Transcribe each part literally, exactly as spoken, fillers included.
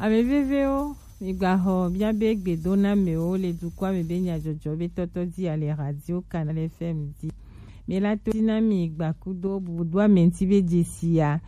Ame vevewo, migbaxɔ miabe gbedonamewo le dukɔa me be nyajɔjɔ be tɔtɔ ji ale Radio Canal F M ji. Mi la to dzi na mi gbakudo bubudo ame ŋuti be dzesi ya.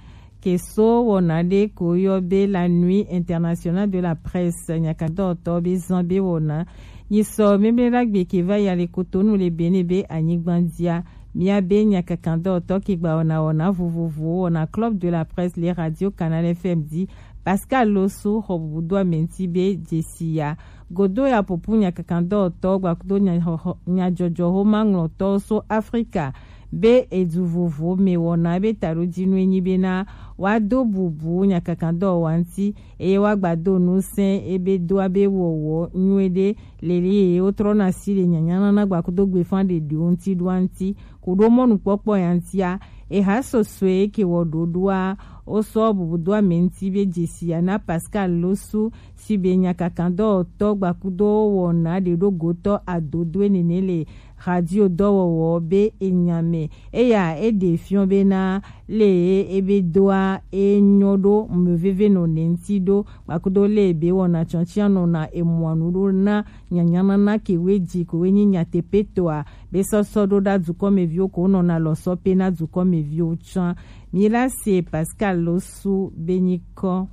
Ke so wɔna ɖe ko yɔ be la Nuit Internationale de la Presse, nyakadɔtɔ be zan be wɔna. Nyi sɔ memlera gbe ke va ya le Cotonou le Bénin be anyigba dzia. Miabe nyakakandɔtɔ ke gba wɔna wɔna vovovowo wɔna Club de la Presse le Radio Canal F M ji. Pascal Losu xɔ bubudo ame ŋuti be dzesi ya. Godo ya popu nyakakandɔtɔ gbakudo nya-, xɔ-, xɔ-, nyajɔjɔ xoma ŋlɔtɔ so Afrika be edu vovo me wɔna be taɖodzinue nyi bena woado bubu nyakakandɔwɔwa ŋuti eye woagbado ŋusẽ ebe doa be wɔwɔ nyuie ɖe leli eye wotrɔna si le nyanyanana gbakudo gbefa ɖeɖiwo ŋuti ɖoa ŋuti. Kuɖo mɔnukpɔkpɔ ya ŋutia, eha sɔsɔe ke wɔ ɖoɖoa, wosɔ bubudo ame ŋuti be dzesi ya na Pascal Losu si be nyakakandɔwɔtɔ gbakudo wɔna ɖeɖogotɔ adodoe nene le radio dɔwɔwɔ be enya me. Eya eɖe fiɔ bena le ebe doa enyɔ ɖo meveve nɔ ne ŋuti ɖo gbakudo le be wɔna tsɔtsia nɔna emɔa nu ɖo na nyanyanana ke we ji ko we nyi nyateƒetɔa be sɔsɔ ɖo ɖa dukɔmeviwo ko nɔna lɔsɔ pe na dukɔmeviwo tsã. Mi la se Pascal Losu be nyikɔ.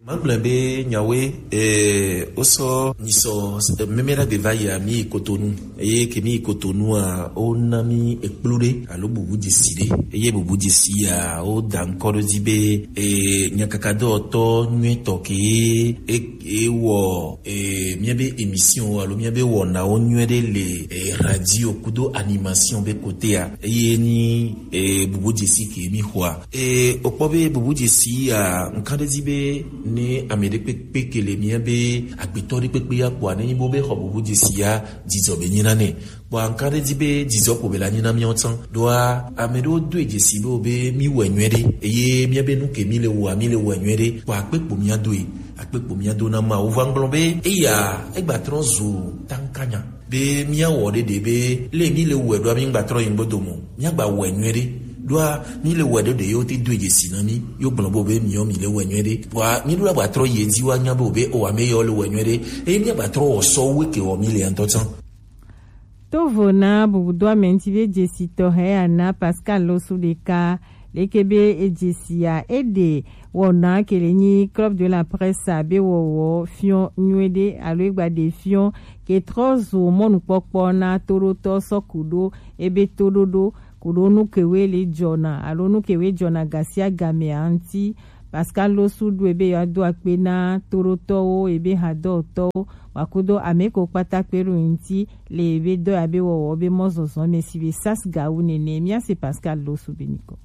Magblẽ be nyawoe, eh, wosɔ nyisɔ, eh, meme ɖagbe va yi mi yi Kotonu. Eye ke mi yi Kotonu a, wona mi ekplu ɖe alo bubu dzesi ɖe. Eye bubu dzesi ya, woda ŋkɔ ɖo dzi be, eh, nyakakadɔwɔtɔ nyuitɔ ke e, e wɔ, eh, miabe émission alo miabe wɔnawo nyuie ɖe le, eh, radio kudo animation be kotea. Eye ni, eh, bubu dzesi ke mi xɔa. E, wokpɔ be bubu dzesi ya, ŋkan ɖe dzi be ne ame ɖe kpekpe ke le mía be agbetɔ ɖe kpekpe ya kpɔa, ne nyi bo be xɔ bubu dzesi ya, dzidzɔ be nyi na nɛ. Kpɔa ŋkan ɖe dzi be dzidzɔ ko be la nyi na míawo tsã. Ɖoa, ame ɖewo doe dzesi be wo be mí wɔe nyuie ɖe. Eye mía be nu ke mí le wɔa, mí le wɔe nyuie ɖe. Kpɔa akpe kpo mía doe, akpe kpo mía do na Mawu. Va ŋgblɔ be eya, egba trɔ zu tankanya. Be míawɔ ɖeɖe be le mí le wɔe ɖoa mí ŋgba trɔ yi ŋgbedo mɔ. Míagba wɔe nyuie ɖe. Ɖoa mí le wɔe ɖeɖe yewo te do dzesi na mí. Yo gblɔ bo be míɔ mí le wɔe nyuie ɖe. Kpɔa mí ɖo la gba trɔ yi edzi wa nya be o be o ame yewo le wɔe nyuie ɖe. Eye míagba trɔ wɔ sɔ wu ke wɔ mí le ŋutɔ tsã. Tovo na bubudo ame ŋuti be dzesi tɔxɛ ya na Pascal Losu ɖeka. Leke be edzesi ya eɖe wɔna ke le nyi Club de la Presse a be wɔwɔ fiɔ nyuie ɖe alo egba ɖe fiɔ ke trɔ zu mɔnukpɔkpɔ na toɖotɔ sɔ ku ɖo ebe toɖoɖo ku ɖo nu kewe le jɔna alo nu kewe jɔna gasia game a ŋuti. Pascal Losu ɖo ebe yewoado akpe na toɖotɔwo ebe hadɔtɔwo wakudo ame ko kpata kpe ɖo ŋuti le ebe dɔ ya be wɔwɔ be mɔzɔzɔ me si be sas gawu nene. Mía se Pascal Losu be nyikɔ.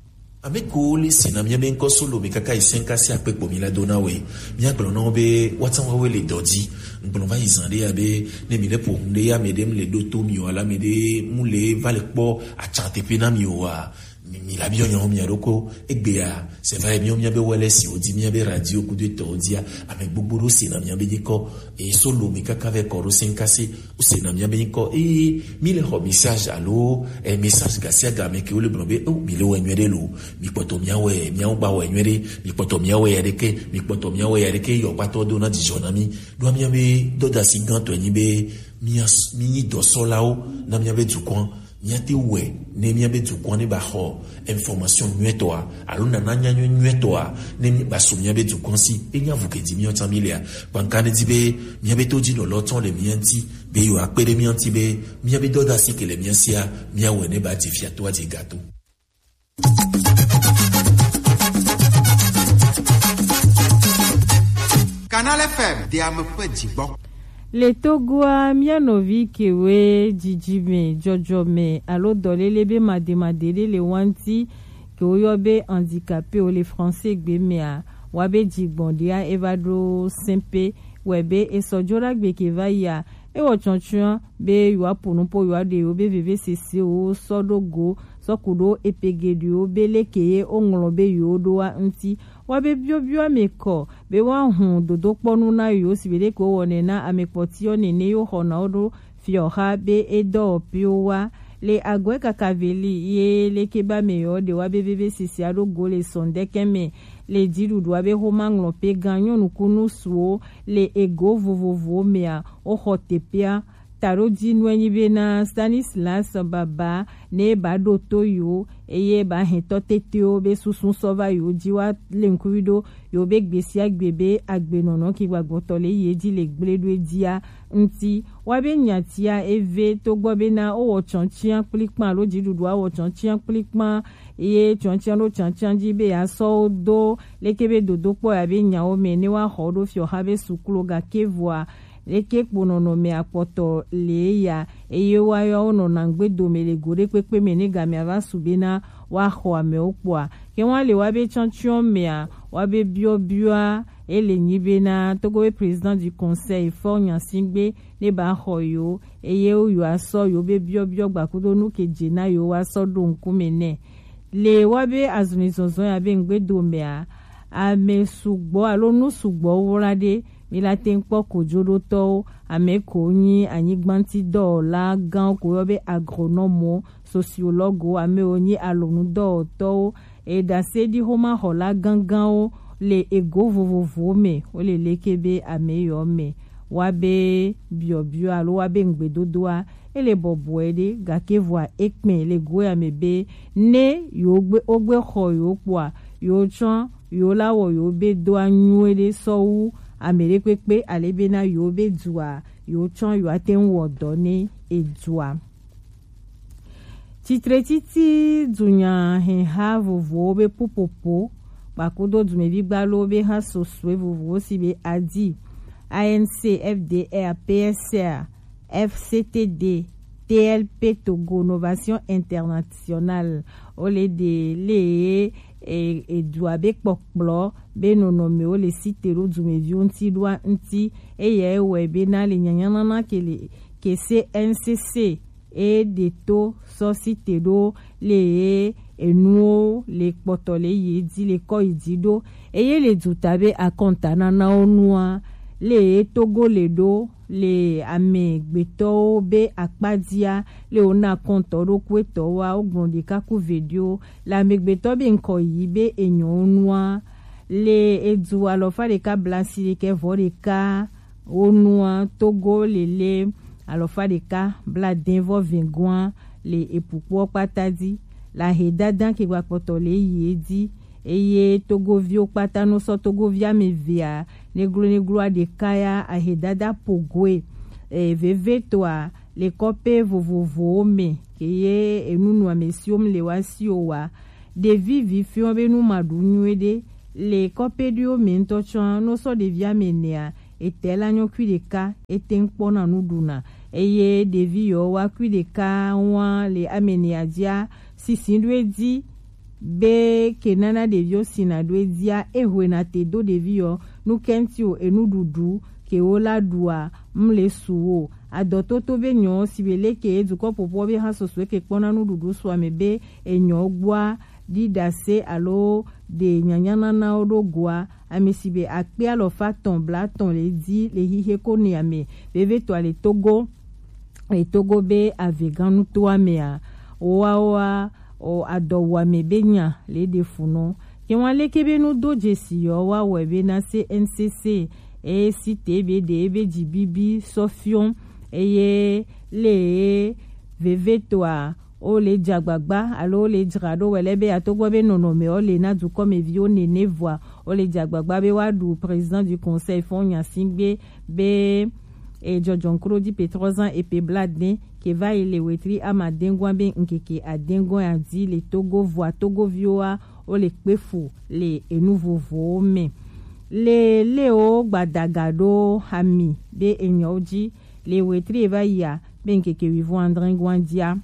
Ame ko le si na mía be ŋkɔ solo mi kaka yi sɛnka si akpe kpo mi la do na we. Mía gblɔ na wo be woatsã woawoe le dɔ dzi. Ŋgblɔ va yi zã ɖe ya be ne mi le ƒo ŋu ɖe ya ame ɖe mu le ɖo to mi o alo ame ɖe mu le va le kpɔ atsa teƒe na mi o wa. Mi, mi la biɔ nyawo mia ɖokɔ egbea, c'est vrai, míawo míabe wɛlɛ si wòdi míabe radio kudo etɔwo dia, ame gbogbo ɖo sena míabe nyikɔ, eye solo mi kaka vɛ kɔ ɖo senkase, wosena míabe nyikɔ, eye mi le xɔ message alo, eh, message gasiagame ke wole gblɔ be, oh, mi le wɛ nyuie ɖe lo, mi kpɔtɔ mia wɛ, miawo gba wɛ nyuie ɖe, mi kpɔtɔ mia wɛ ya ɖeke, mi kpɔtɔ mia wɛ ya ɖeke, yɔ kpatɔ do na dzidzɔ na mi, ɖoa míabe dɔdasi gãtɔe nyi be, mia, mi nyi dɔsɔlawo na míabe dukɔa. Míate wɔe ne míabe dukɔa ne ba xɔ information nyuietɔa alo nana nyanyui nyuietɔa ne mi ba su míabe dukɔa si. Enya vu ke dzi míawo tsã mi lea. Kpanka ne di be míabe to dzi nɔlɔ tsɔ le mía ŋuti be yewoa kpe ɖe mía ŋuti be míabe dɔdasi ke le mía sia míawɔe ne ba dze fia to adze gato. Canal F M, de ame ƒe dzigbɔ. Le Togoa, mía nɔvi kewoe dzidzime, dzɔdzɔme alo dɔléle be mademade ɖe le wa ŋuti, ke woyɔ be handicapé wo le français gbe mea, wa be dzigbɔɖia eva ɖo sɛnpe, wɛ be esɔ dzo ɖagbe ke va yia, ewɔ tsɔtsɔa be yewoaƒo nu po yewoaɖe yewo be vevesesewo sɔ ɖo go sɔ ku ɖo epe geɖewo be leke ye woŋlɔ be yewo ɖoa ŋuti. Woabe biɔbiɔ ame kɔ be woahu dodokpɔnu na yewo si be leke wowɔnɛ na ame kpɔtiwo nene yewo xɔna wo ɖo fiɔxa be edɔwɔƒewo wa. Le agɔe kaka veli ye leke be ame yewo ɖe woabe vevesesea ɖo go le sɔndɛkɛ me. Le jiɖuɖua be xoma ŋlɔpe gan nyɔnu kunu suwo le ego vovovowo mea, woxɔ teƒea. Taɖodzinue nyi bena Stanislas Baba ne ba ɖo to yewo eye ba hɛn tɔ tetewo be susu sɔ va yewo ji wa le ŋkuvi ɖo yewo be gbe sia gbe be agbenɔnɔ ki gbagbɔtɔ le yi edzi le gble ɖo edzia ŋuti. Wa be nyatia eve togbɔ bena wowɔ tsɔntsia kplikpan alo dziɖuɖua wɔ tsɔntsia kplikpan ye tsɔntsia ɖo tsantsia dzi be yeasɔ wo do leke be dodokpɔ ya be nyawo me ne woaxɔ wo ɖo fiɔxa be suklo gake vɔa leke kpo nɔnɔme akpɔtɔ le ya eye woayɔ wonɔna ŋgbe dome le go ɖe kpekpe me ne gamea va su bena woaxɔ amewo kpɔa. Ke woale woabe tsɔntsyɔ mea woabe biɔbiɔa ele nyi bena Togo be président du conseil Faure Gnassingbé ne ba xɔ yewo eye yewoasɔ yewo be biɔbiɔ gbakudo nu ke dze na yewo woasɔ ɖo ŋkume nɛ. Le woabe azɔlizɔzɔ ya be ŋgbe domea ame sugbɔ alo nu sugbɔ wla ɖe mi la te ŋu kpɔ kojoɖotɔwo, ame ko nyi anyigba ŋuti dɔwɔla gãwo ko yɔ be agronɔmwo, sociologuewo, ame wo nyi alɔnudɔwɔtɔwo, eɖaseɖixomaxɔla gãgãwo le ego vovovowo me, wo le leke be ame yɔ me. Woabe biɔbiɔ alo woabe ŋugbedodoa, ele bɔbɔe ɖe, gake vɔa ekpɛ le go ya me be ne yewo gbe wogbe xɔ yewo kpɔa, yewo tsɔ yewo la wɔ yewo be doa nyuie ɖe sɔ wu ame ɖe kpekpe ale bena yewo be dua yewo tsɔ yewo ate ŋu wɔ dɔ ne edua. Tsitretsitsi dunyahɛha vovowo be ƒuƒoƒo kpakudo dumevi gbalowo be ha sosue vovowo si be adi A N C, F D R, P S R, F C T D, T L P Togo Novation Internationale. Wo le ɖe le e, edua be kpɔkplɔ be nɔnɔmewo le site ɖo dumeviwo ŋuti ɖoa ŋuti. Eya wɔe bena le nyanyanana ke le ke C N C C e ɖe to sɔ site ɖo le ye enuwo le kpɔtɔ le ye dzi le kɔ yi dzi ɖo eye le duta be akɔntananawo nua le ye Togo le ɖo le amegbetɔwo be akpadzia le wona kɔntɔ ɖo kuetɔwoa wogblɔ ɖeka ku veɖiwo le amegbetɔ be ŋkɔ yi be enyɔwo nua le edu alɔfa ɖeka blasi ɖekɛ vɔ ɖeka wo nua Togo lele alɔfa ɖeka bladen vɔ vɛgoa le epukpoɔ kpata dzi le ahedada ke gbakpɔtɔ le yi edzi eye Togoviwo kpata no sɔ Togovi ame evea neglo negloa ɖeka ya ahedada pogoe e, vevetoa le kɔƒe vovovowo me ke ye enunɔamesiwo le wa si o wa ɖevi vi fiɔ be nu ma ɖu nyuie ɖe le kɔƒe ɖiwo me ŋutɔ tsɔ no sɔ ɖevi ame nea ete la nyɔ kui ɖeka ete ŋkpɔna nu ɖuna eye ɖevi yɔ wa kui ɖeka wa le ame nea dzia sisi ɖo edzi be ke nana ɖeviwo sina ɖo edzia ehoena te do ɖevi yɔ nu kɛnti o enuɖuɖu ke wo la ɖua mle su wo adɔtoto be nyɔ si be leke dukɔ ƒoƒo be ha soso ke kpɔna nuɖuɖu sua me be enyɔ gbɔa ɖiɖase alo ɖe nyanyananawo ɖo goa ame si be akpe alɔfa tɔn blatɔn le dzi le hihe ko ne ame vevetɔa le Togo le Togo be avegãnutoa mea woawoa o adɔwuame be nya le ɖe funɔ. Ke wa leke be nu do dzesi yɔ wa wɔe be na C N C C e si te be ɖe ebe dzi bibi sɔ fiɔ eye le vevetɔa o le dze agbagba alo o le dzra ɖo wɛ lɛ be atogbɔ be nɔnɔme o le na dukɔmeviwo nene vɔa o le dze agbagba be wa ɖu président du conseil Faure Gnassingbé be e jɔjɔnkroɖi pe trɔzan epe bladɛ ke va yi le wetri amadɛngua be ŋkeke adɛngua ya dzi le Togo vɔa Togoviwoa wo le kpe fu le enu vovowo me. Le le wo gbadaga ɖo ami be enyɔwo dzi le wetri e va yia be ŋkeke wivɔn adrɛngua dzia.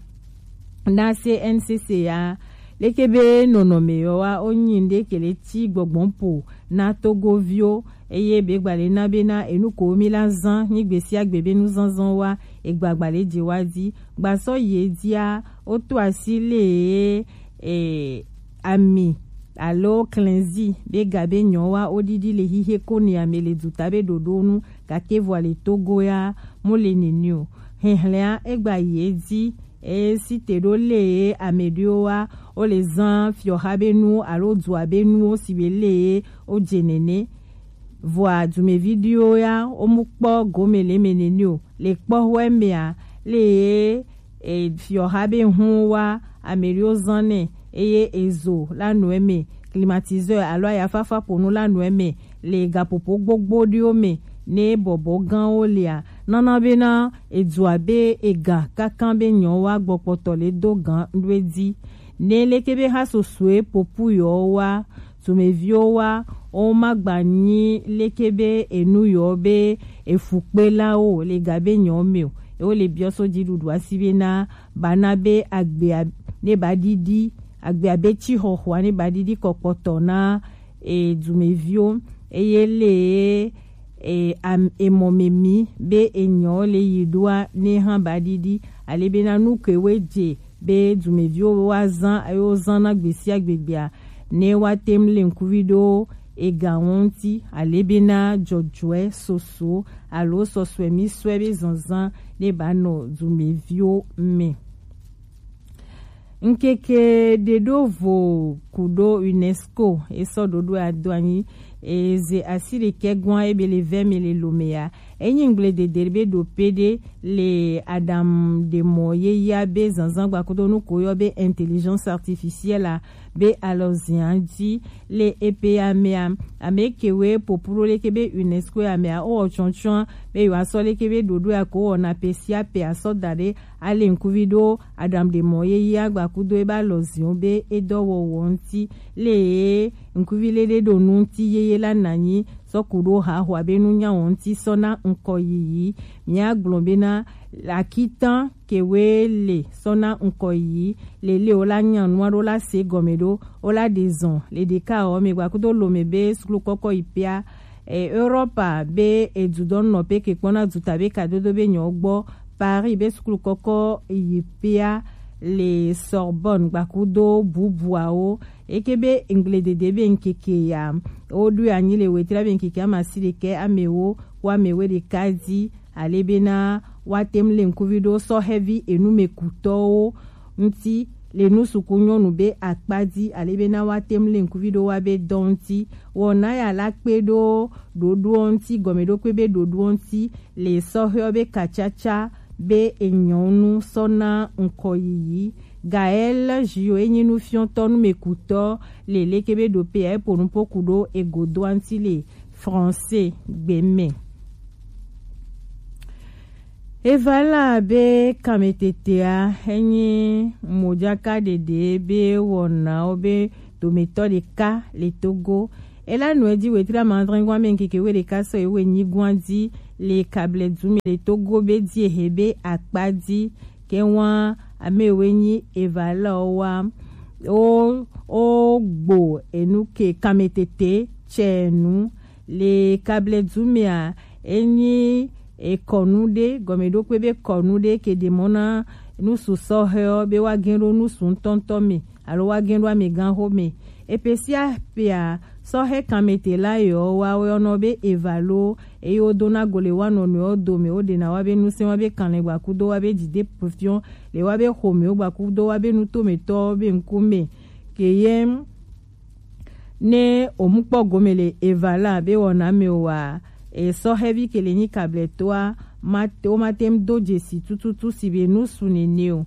Na C N C C ya leke be nɔnɔme yɔ wa o nyi ŋɖe ke le ti gbɔgbɔn po na Togoviwo eye be gba le na be na enu ko mi la zan nyi gbe sia gbe be nu zanzan wa egba gba le dze wa dzi gba sɔ yi edzia o to asi le e ami alo klɛnzi be ga be nyɔ wa o ɖiɖi le hihe ko ne ame le duta be ɖoɖo nu gake vɔ le Togo ya mo le nene o. Hɛhlɛa egba yi edzi eye si te ɖo le ye ame ɖewo wa wo le zan fiɔha be nu alo dua be nuwo si be le ye wo dze nene. Vɔa dumevi ɖiwo ya wo mu kpɔ gome le eme nene o. Le kpɔxɔe mea, le ye e, fiɔha be hun wa ame ɖewo zan nɛ eye ezo la nɔ eme, climatiseur alo ayafafa ƒonu la nɔ eme le gaƒoƒo gbogbo ɖewo me ne bɔbɔ gãwo lia, nana bena edua be ega kankan be nyɔwa gbɔkpɔtɔ le do gan ɖoe dzi. Ne leke be ha sosoe popu yɔ wa, dumeviwo wa, wo ma gba nyi leke be enu yɔ be efukpelawo le ga be nyɔ me o. Ewo le biɔ so dziɖuɖu asi be na ba na be agbea ne ba ɖiɖi, agbea be tsi xɔxɔa ne ba ɖiɖi kɔkpɔtɔ na e dumeviwo eye le e am- emɔ me mi be enyɔ le yi ɖoa ne hã ba ɖiɖi ale be na nu ke we dze be dumeviwo wa zan eye wo zan na gbesia gbegbea ne wa tem le ŋkuvi ɖo ega ŋuti ale be na dzɔdzɔe soso alo sɔsɔe mi sɔe be zanzan ne ba nɔ dumeviwo me. Ŋkeke ɖe ɖo vo ku ɖo UNESCO esɔ ɖoɖo ado anyi eze asi ɖekɛ gwan ebe le vɛ me le lome ya. Enyi ŋgble dede be ɖo pe ɖe le adam ɖe mɔ ye ya be zanzan gbakudo nu ko yɔ be intelligence artificielle a be alɔ zia dzi le epe ya mea, ame ke we popuro leke be UNESCO ya mea o tsɔntsɔn be yo asɔ leke be ɖoɖo ya ko wɔna pe sia pe asɔ da ɖe ale ŋkuvi ɖo aɖaŋuɖemɔ yeye agbakudo ebe alɔziwo be edɔwɔwɔ ŋuti. Le ye ŋkuvi le ɖe ɖo nu ŋuti yeye la nanyi sɔ ku ɖo haxoa be nunyawɔ ŋuti sɔ na ŋkɔ yiyi. Mia gblɔ bena akitan kewe le sɔ na ŋkɔ yiyi le le wo la nya nua ɖo la se gɔme ɖo wo la ɖe zɔn le ɖeka ɔ me gbakudo lome be suklu kɔkɔ yi pia e, Europa be edudɔnnɔ pe ke kpɔna duta be kadodo be nyɔ gbɔ Paris be sukulu kɔkɔ yi pea le Sorbonne gbakudo bubuawo. Eke be ŋgledede be ŋkeke ya wo ɖo anyi le wetra be ŋkeke amasi ɖekɛ amewo wo amewe ɖeka di ale bena woate ŋu le ŋkuvi ɖo sɔhɛvi enumekutɔwo ŋuti le nusuku nyɔnu be akpa dzi ale bena woate ŋu le ŋkuvi ɖo wa be dɔ ŋuti. Wɔna ya la kpe ɖo ɖoɖoɔ ŋuti gɔmeɖokpe be ɖoɖoɔ ŋuti le sɔhɛɔ be kacaca be enyɔnu sɔ na ŋkɔ yiyi. Gaël Jio enyi nufiɔtɔ numekutɔ le leke be ɖope ya epo nupo ku ɖo egodoa ŋuti le français gbe me. Evala be kametetea enyi mojaka ɖeɖe be wɔnawo be dometɔ ɖeka le Togo. Ela nɔ edzi wetri amadrɛngwa me ŋkeke we ɖeka sɔ ewe nyigwa dzi le kable du me le Togo be dzi ehe be akpa dzi ke wa ame we nyi evala wa o o gbo enu ke kametete tsɛ nu le kable du mea enyi ekɔnu ɖe gɔmeɖokpe be kɔnu ɖe ke ɖe mɔ na nusu sɔhɛɔ be wa gɛn ɖo nusu ŋutɔŋutɔ me alo wa gɛn ɖo amegãxo me. Epe sia pea sɔhɛ kanmete la yɔ wa wɔnɔ be evalo eye wodona go le wa nɔnɔewo dome woɖena wa be nusẽ wa be kanlɛ gbakudo wa be dide fiɔ le wa be xomewo gbakudo wa be nutometɔwo be ŋkume. Ke ye ne omukpɔ gome le evala be wɔna me wa esɔhɛvi ke le nyi kablɛtoa mate womate ŋu do dzesi tututu si be nusu nene o.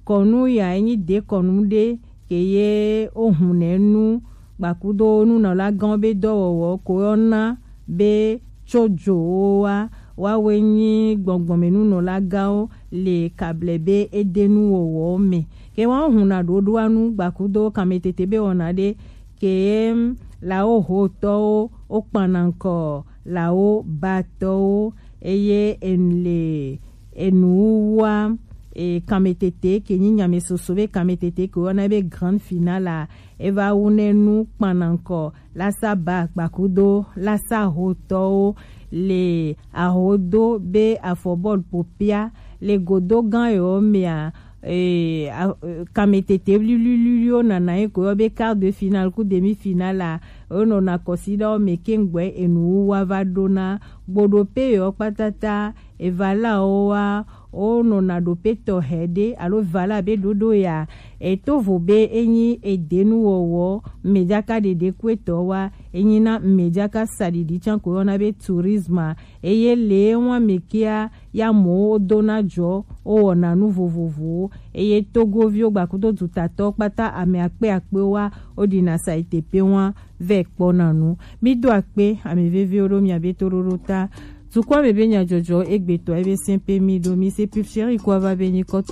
Kɔnu ya enyi dekɔnu ɖe ke ye wohunɛ nu gbakudo nunɔlagãwo be dɔwɔwɔ ko yɔna be tsojowo wa wawoe nyi gbɔngbɔnmenunɔlagãwo le kable be edenuwɔwɔwo me. Ke wohuna ɖoɖoa nu gbakudo kametete be wɔna ɖe ke lawo hotɔwo wokpana ŋkɔ lawo batɔwo eye enle enuwuwua e, kametete ke nyi nyamesoso be kametete ke woyɔna be grand finale a eva wu ne nu kpana ŋkɔ lasa ba gbakudo lasa hotɔwo le ahodo be afɔbɔl popia le godo gã yewo mea e, a, e, kametete wliwliwliwo nana ye ko yɔ be quart de finale ku demi finale a wonɔna kɔsiɖawo me keŋgbɔe enuwuwua va ɖona gboɖope yewo kpatata Evala wo wa, wo nɔna ɖo pe tɔxɛ ɖe alo vala be ɖoɖo ya. Eto vo be enyi edenu wɔwɔ, mɛdaka ɖeɖe ku etɔ wa, enyi na mɛdaka saɖiɖi can ko yɔna be tourisme. Eye le wɔn me kia ya mɔ wo dona jɔ, wo wɔna nu vovovowo. Eye Togoviwo gbakudo dutatɔ kpata ame akpe akpe wa, wo ɖina saite pe wa vɛ kpɔna nu. Mi do akpe, ame veviwo ɖo mia be toɖoɖo ta. Tukɔ me be nyadzɔdzɔ egbetɔ ebe sɛn pe mi ɖo mi se pip chéri kɔ va be nyikɔ.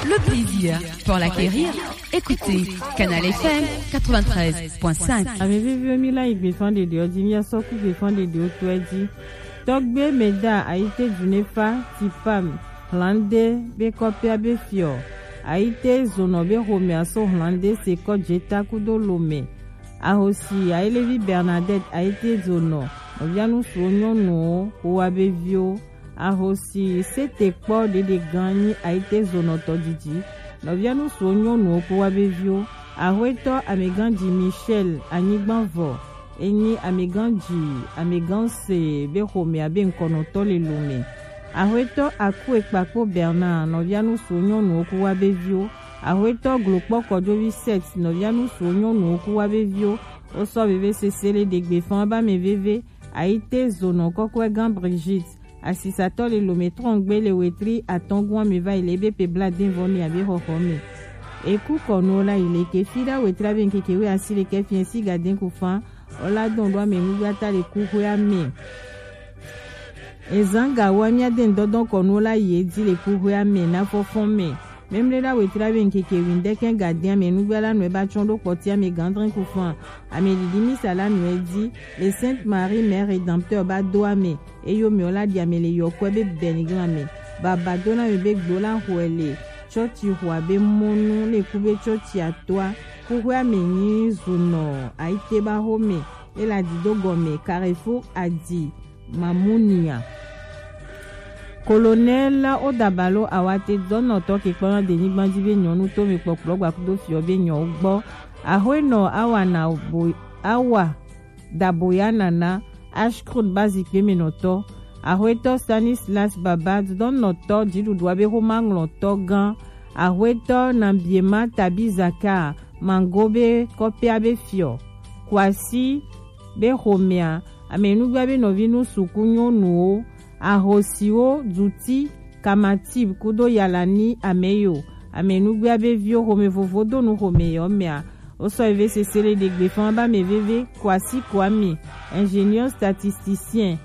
Le plaisir pour l'acquérir. Écoutez Canal F M quatre-vingt-treize point cinq. Ame veviwo mi la yi gbefan ɖeɖewo dzi, mi asɔ ku gbefan ɖeɖewo tɔɛ dzi. Tɔgbe mɛda ayite dunefa tipam hlande be kɔpia be fiɔ. Ayite zonɔ be xomɛ aso hlande se kɔ jeta kudo lome. Ahosi ayelevi Bernadette ayite zonɔ nɔvia nusuwo nyɔnuwo ko wa be viwo. Ahosi sete kpɔ ɖeɖe gan nyi ayite zonɔtɔ didi. Nɔvia nusuwo nyɔnuwo kpo wa be viwo. Ahoetɔ ameganji Michel anyigbanvɔ enyi ameganji ameganse be xomɛ abe ŋkɔnɔtɔ le lome. Ahoetɔ Akue kpakpo Bernard nɔvia nusuwo nyɔnuwo kpo wa be viwo. Ahoetɔ glokpɔ kɔjovi Seth nɔvia nusuwo nyɔnuwo kpo wa be viwo. Wosɔ veve sese le ɖegbe fan ba me veve. Ayite zonɔ kɔkɔe gan Brigitte. Asisatɔ le lome trɔngbe le wetri atɔngua me va yi le ebe pe bla den vɔ mi abe xɔxɔ me. Eku kɔnuwo la yi le ke fi ɖa wetri abe ŋkeke we asi le ke fiɛ si ga den ku fan. Ola dɔn ɖo ame nugba ta le ku xwe ame. Ezan ga wa mia den dɔdɔn kɔnuwo la yi edi le ku xwe ame na fɔfɔn me. Memle ɖa wetri abe ŋkeke windɛkɛ ga den ame nugba la nɔe ba tsɔn ɖo kpɔti ame gandrin ku fan. Ame ɖiɖi misa la nɔe di le Sainte Marie Mère Rédempteur ba do ame. Eyo mɛ ɔ la ɖi ame le yɔkɔɛ be bɛniglan mɛ. Baba dona mɛ be gbo la xɔɛ le tsɔtsi xɔa be mɔnu le ku be tsɔtsi atoa. Kuxɔa mɛ nyi zunɔ ayite ba xo mɛ. E la di do gɔmɛ Carrefour Adi Mamunia. Colonel Odabalo Awate dɔnɔtɔ ke kpɔna denyigban ji be nyɔnu to mi kpɔkplɔ gbakudo fiɔ be nyɔ gbɔ. Ahoenɔ awa na bo awa Daboya Nana, Ashcroft ba zikpe me nɔtɔ. Ahoetɔ Stanislas Baba dɔnɔtɔ dziɖuɖua be xoma ŋlɔtɔ gã. Ahoetɔ Nabiema Tabi Zaka Mango be kɔpia be fiɔ. Kwasi be xomea, amenugba be nɔvi nu suku nyɔnuwo, ahosiwo, duti, kamatib kudo yalani ameyo, amenugba be viwo xome vovo do nu xome yɔ mea. Wosɔ eve sese le ɖegbe fan ba me veve, Kwasi Kwame, ingénieur statisticien,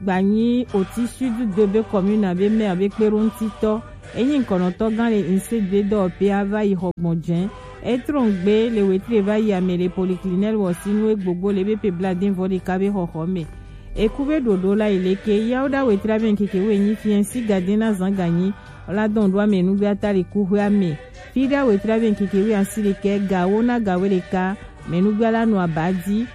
gbanyi oti sud de be commune abe maire be kpeɖoŋutitɔ. Enyi ŋkɔnɔtɔ gã le inse gbe dɔwɔƒe ava yi xɔ gbɔn jɛn. Etrɔn gbe le wetri va yi ame le polyclinique wɔ si nu egbogbo le be pe bla den vɔ ɖeka be xɔxɔ me. Eku be ɖoɖo la yi leke yawo ɖa wetri abe ŋkeke wo enyi fiɛ si gaden na zan ganyi. Ola dɔn ɖo ame nugbe ata le kuxɔe ame. Fi ɖa wetri abe ŋkeke wo asi ɖekɛ gawo na gawo ɖeka. Ame nugbe la nɔ aba di.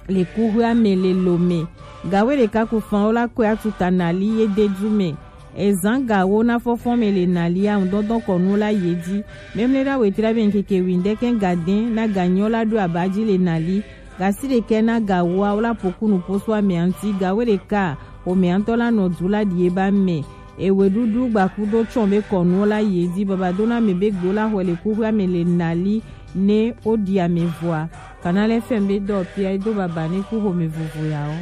Le kuxɔa me le Lome. Gawe ɖeka ku fan wo la kɔe atuta nali ye de du me. Ezan gawo na fɔfɔn me le nali a ŋdɔndɔn kɔnu la ye di. Memle ɖa wetri abe ŋkeke windɛkɛ gaden na ganyɔ la ɖo aba ji le nali. Gasi ɖekɛ na gawoa wo la pokunu poso ame anti gawe ɖeka. Ome antɔ la nɔ du la ɖie ba me. Eweɖuɖu gbakudo tsɔn be kɔnuwo la yi edzi babadona me be gbo la xɔe le kuxɔa me le nali ne woɖi ame vɔa. Canal F M be dɔ pia do baba ne ku xome vovo yawo.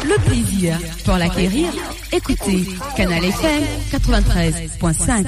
Le plaisir pour l'acquérir, écoutez Canal F M quatre-vingt-treize point cinq.